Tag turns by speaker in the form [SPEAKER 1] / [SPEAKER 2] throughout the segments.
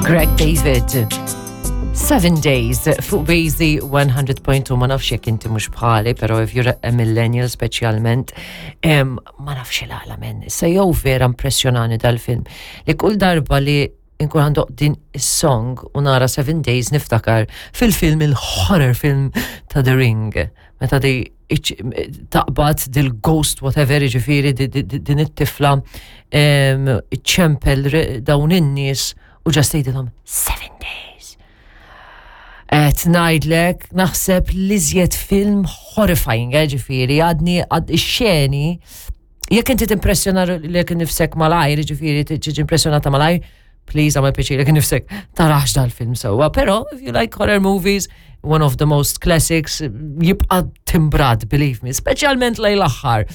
[SPEAKER 1] Greg David. Seven Days fuq Bazy 100.2 ma nafx jekk inti mhux bħali, però if you're a millennial speċjalment, ma nafx il-għala men. Issa jew vera impressjonani dal-film li kull darba li nkun għandoq din is-song u nara Seven Days niftakar fil-film il-horror film ta' The Ring. Meta di taqbad dil-ghost whatever ġifiri din it-tifla iċċempel dawn in-nies u ġast tgħidilhom seven days. Qed ngħidlek naħseb li żjed film horrifying, eh, ġifieri għadni għad ix-xeni jekk inti timpressjona lek nifsek malajr, ġifieri tiġi impressjonata malajr, please għamel pjaċir jekk nifsek tarax dal-film sewwa. Però if you like horror movies, one of the most classics, jibqa' timbrat, believe me, speċjalment lejn l-aħħar.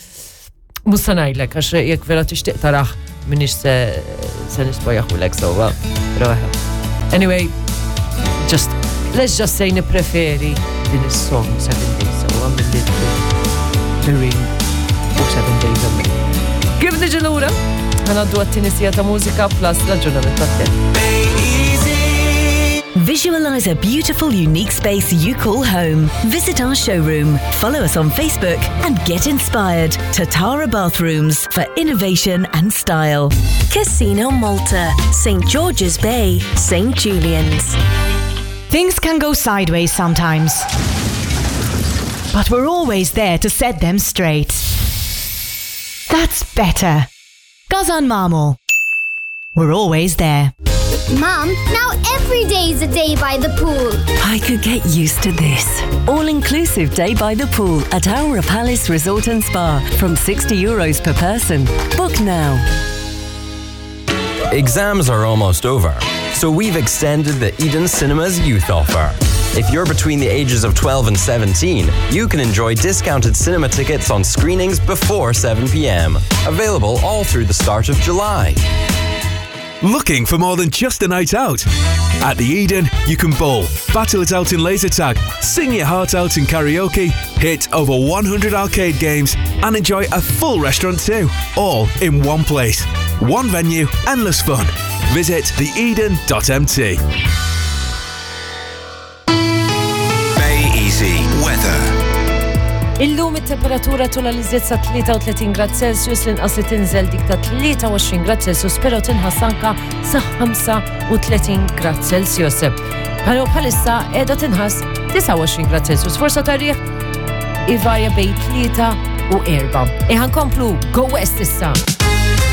[SPEAKER 1] Mhux se ngħidlek għax jekk vera tixtieq tarax minix se se nispojaħulek sewwa. Però Anyway, just let's just say nippreferi din is-song Seven Days sewwa milli The Ring u Seven Days a Week. Kif niġi lura? Ħanaddu għat-tieni sija ta' mużika plus l-aġġornament tat-temp.
[SPEAKER 2] Visualize a beautiful, unique space you call home. Visit our showroom, follow us on Facebook, and get inspired. Tatara Bathrooms for innovation and style.
[SPEAKER 3] Casino Malta, St. George's Bay, St. Julian's.
[SPEAKER 4] Things can go sideways sometimes. But we're always there to set them straight. That's better. Gazan Marmor. We're always there.
[SPEAKER 5] Mum, now every day's a day by the pool.
[SPEAKER 2] I could get used to this. All-inclusive day by the pool at Aura Palace Resort and Spa from 60 euros per person. Book now.
[SPEAKER 6] Exams are almost over, so we've extended the Eden Cinemas youth offer. If you're between the ages of 12 and 17, you can enjoy discounted cinema tickets on screenings before 7 pm. Available all through the start of July.
[SPEAKER 7] Looking for more than just a night out? At the Eden, you can bowl, battle it out in laser tag, sing your heart out in karaoke, hit over 100 arcade games, and enjoy a full restaurant too. All in one place. One venue, endless fun. Visit theeden.mt.
[SPEAKER 8] Bay Easy Weather.
[SPEAKER 1] Illum it-temperatura tula li żied sa 33 grad Celsius l-inqas li tinżel dik ta' 23 grad Celsius, però tinħass anka sa 35 grad Celsius. Però bħalissa qiegħda tinħass 29 grad Celsius. Forsa ta' riħ ivarja bejn 3 u 4. Iħan komplu Go West issa.